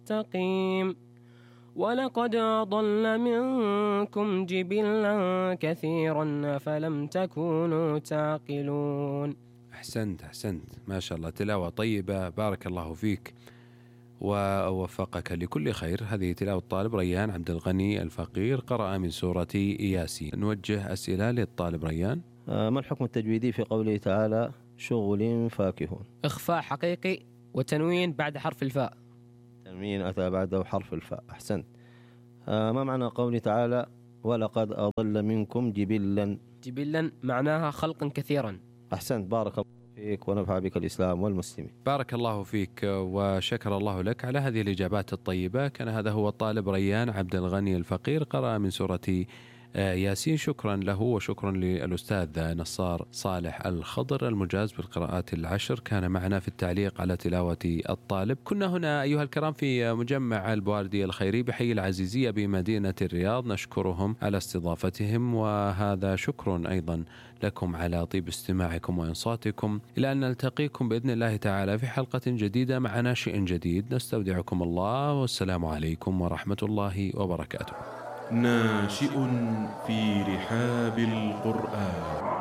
مستقيم. ولقد أضل منكم جبلا كثيرا فلم تكونوا تعقلون. أحسنت ما شاء الله، تلاوة طيبة، بارك الله فيك ووفقك لكل خير. هذه تلاوة الطالب ريان عبد الغني الفقير، قرأ من سورة ياسين. نوجه أسئلة للطالب ريان. ما الحكم التجويدي في قوله تعالى شغل فاكهون؟ إخفاء حقيقي وتنوين بعد حرف الفاء. تنوين أتى بعده حرف الفاء. أحسنت. ما معنى قوله تعالى ولقد أضل منكم جبلا؟ جبلا معناها خلقا كثيرا. أحسنت، بارك الله فيك ونفع بك الإسلام والمسلمين. بارك الله فيك وشكر الله لك على هذه الإجابات الطيبة. كان هذا هو الطالب ريان عبد الغني الفقير، قرأ من سورة ياسين. شكرا له وشكرا للأستاذ نصار صالح الخضر المجاز بالقراءات العشر، كان معنا في التعليق على تلاوة الطالب. كنا هنا أيها الكرام في مجمع البواردي الخيري بحي العزيزية بمدينة الرياض، نشكرهم على استضافتهم، وهذا شكر أيضا لكم على طيب استماعكم وإنصاتكم. إلى أن نلتقيكم بإذن الله تعالى في حلقة جديدة مع ناشئ جديد، نستودعكم الله والسلام عليكم ورحمة الله وبركاته. ناشئ في رحاب القرآن.